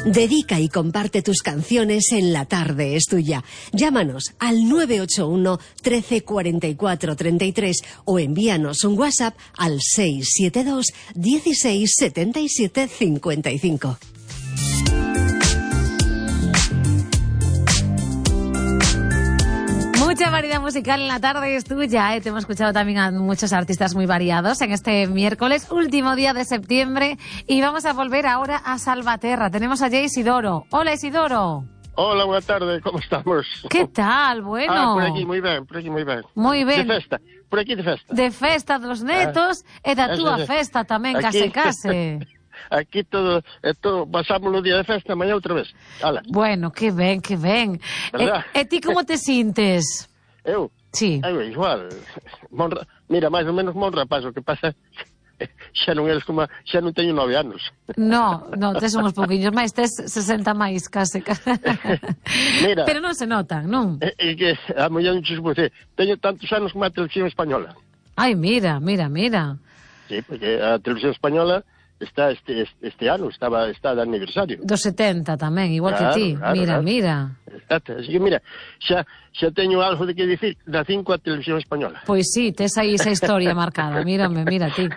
Dedica y comparte tus canciones en La Tarde es Tuya. Llámanos al 981 13 44 33 o envíanos un WhatsApp al 672 16 77 55. Mucha variedad musical en La Tarde es Tuya, Te hemos escuchado también a muchos artistas muy variados en este miércoles, último día de septiembre, y vamos a volver ahora a Salvaterra. Tenemos a Jay Isidoro. Hola, Isidoro. Hola, buenas tardes, ¿cómo estamos? ¿Qué tal? Bueno. Por aquí, muy bien, por aquí, muy bien. Muy bien. De festa, por aquí de festa. De festa dos netos e da túa festa tamén, case. Aquí todo, pasamos los días de festa, mañana outra vez. Hala. Bueno, que ben, que ben. E ti como te sintes? Eu? Sí. Igual. Mira, máis ou menos mon rapaz, o que pasa xa non teño 9 anos. No, tes uns pouquinhos máis, tes 60 máis, case. Mira. Pero non se notan, non? É que a muller non se supose, teño tantos anos como a televisión española. Ai, mira. Sí, porque a televisión española está este ano, está de aniversario. Dos 70 tamén, igual claro, que ti. Claro. Mira. Exacto. Así que mira, xa teño algo de que dicir da 5 a televisión española. Pois sí, tes aí esa historia marcada. Mira ti.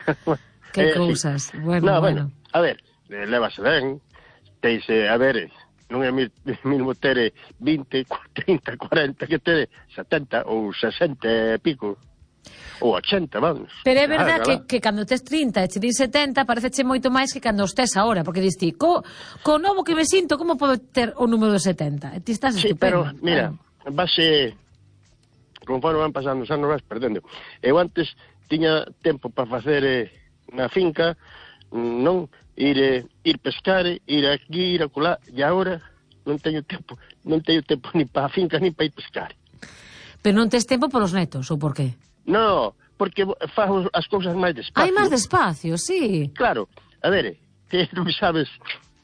Que cousas. Sí. Bueno. A ver, levase ben, teise, a ver, non é mismo ter 20, 30, 40 que ter 70 ou 60 e pico. Ou 80, vamos. Pero é verdad que cando tes 30 e che din 70 pareceche moito máis que cando os tes ahora, porque dis ti, co novo que me sinto, como podo ter o número de 70? E ti estás estupendo. Sí, pero, mira, base, conforme van pasando os anos vas perdendo. Eu antes tiña tempo para facer na finca, non ir pescar, ir aquí, ir acolá, e agora non teño tempo ni para a finca ni para ir pescar. Pero non tes tempo polos netos, ou por qué? No, porque fago as cousas máis despacio. Hai máis despacio, sí. Claro, a ver, que non sabes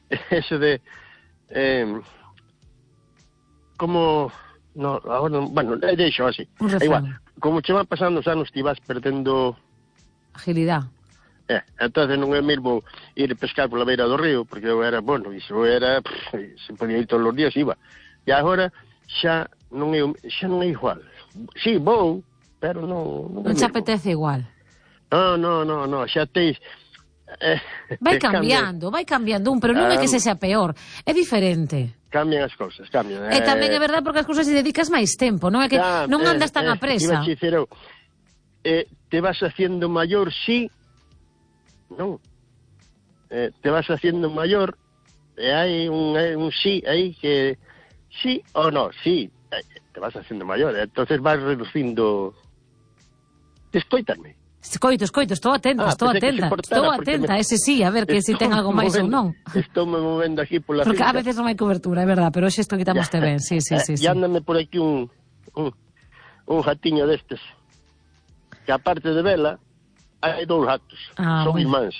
eso de como no, agora, bueno, deixo así. Igual, como che van pasando os anos ti vas perdendo agilidade. Entonces non é mesmo ir pescar pola beira do río, porque eu era, se podía ir todos os días, iba. E agora xa non é igual. Sí, vou, pero non te apetece igual. No, xa teis vai cambiando, pero non é que se sea peor, é diferente. Cambian as cousas, cambian. E tamén é verdade porque as cousas se dedicas máis tempo, non é que non andas tan a presa. Te vas haciendo mayor, sí, non. Te vas haciendo mayor, e hai un sí aí que sí ou no, sí, te vas haciendo mayor, entonces vas reducindo. Escoítame. Escoito, estou atenta. Estou atenta, ese sí, a ver que se ten algo máis ou non. Estou me movendo aquí pola porque finca. A veces non hai cobertura, é verdade, pero hoxe isto quitamoste ben, sí. E ándame por aquí un jatiño destes, que aparte de vela, hai 2 gatos, son irmáns.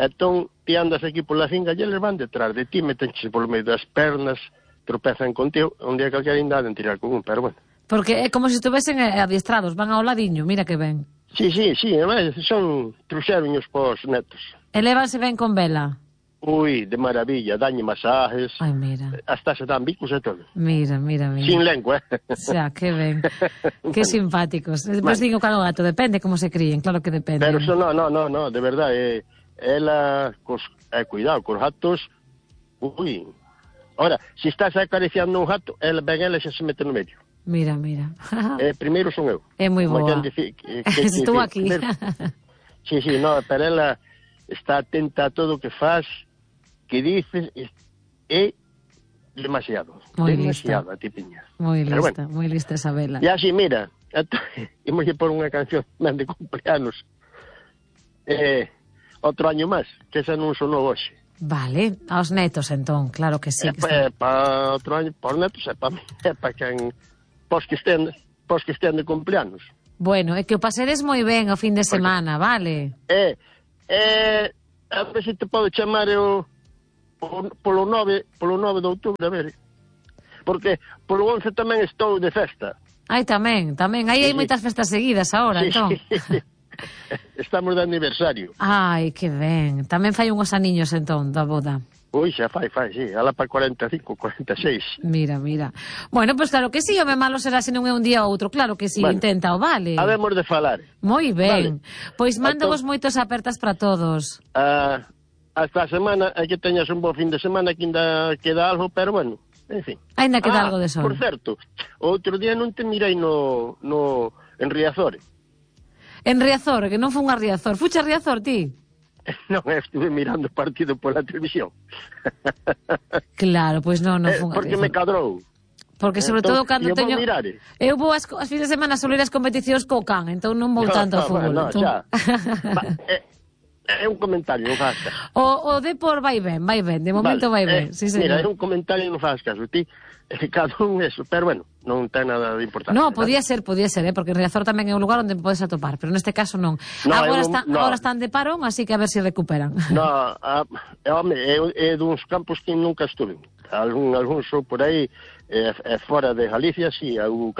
Entón, ti andas aquí pola finca e eles van detrás de ti, metenche polo medio das pernas, tropezan contigo, un día calquera ainda de tirar con un, pero bueno. Porque é como se estuvesen adiestrados, van ao ladiño, mira que ben. Sí, además son truxeroños pos netos. E lévanse ben con vela? Ui, de maravilla, dañe masajes. Ai, mira. Hasta se dan bicos e todo. Mira. Sin lengua, Xa, que ben. Que simpáticos. Despois digo que o gato, depende como se críen, claro que depende. Pero eso no, de verdade, ela, cuidado, cos gatos, ui. Ahora, se estás acariciando un gato, ela xa se mete no medio. Mira. Primeiro son eu. É moi boa. Estou aquí. Sí, no, pero ela está atenta a todo o que faz, que dices, é demasiado a tipiña. Moi lista esa vela. E así, mira, imos por unha canción de cumpleanos. Outro año máis, que esa non sonou hoxe. Vale, aos netos entón, claro que sí. Para outro año, para os netos, para mí, para quen, pos que estén de cumpleanos. Bueno, é que o pasedes moi ben o fin de semana, vale? A ver se te podo chamar polo 9 de outubro, a ver. Porque polo 11 tamén estou de festa. Ai, tamén, aí hai moitas festas seguidas agora, entón. Estamos de aniversario. Ai, que ben. Tamén fai unhos aniños entón da boda. Ui, xa fai, sí. Ala para 45, 46. Mira. Bueno, pois claro que sí, home malo será se non é un día ou outro. Claro que sí, bueno, intenta o vale. Habemos de falar. Moi ben. Vale. Pois mándavos moitos apertas para todos. Hasta a semana, hai que teñas un bo fin de semana, que ainda queda algo, pero bueno, en fin. Ainda queda algo de sol. Por certo, outro día non te mirei en Riazor. En Riazor, que non foi a Riazor. Fuche a Riazor, ti? Non, estuve mirando o partido pola televisión. Claro, pois non foi. Porque me cadrou. Porque sobre todo cando teño... Eu vou as fins de semana a solir as competicións co can, entón non vou tanto ao fútbol. No, xa. É un comentario, non faz caso. O Depor vai ben, de momento vai ben. Sí, mira, é un comentario, non faz caso. Ti, cada un eso, pero bueno, non ten nada de importante. No, podía ser, porque Riazor tamén é un lugar onde podes atopar, pero neste caso non. Agora están de parón, así que a ver se recuperan. No, home, é duns campos que nunca estuve. Algún sou por aí, fora de Galicia, si,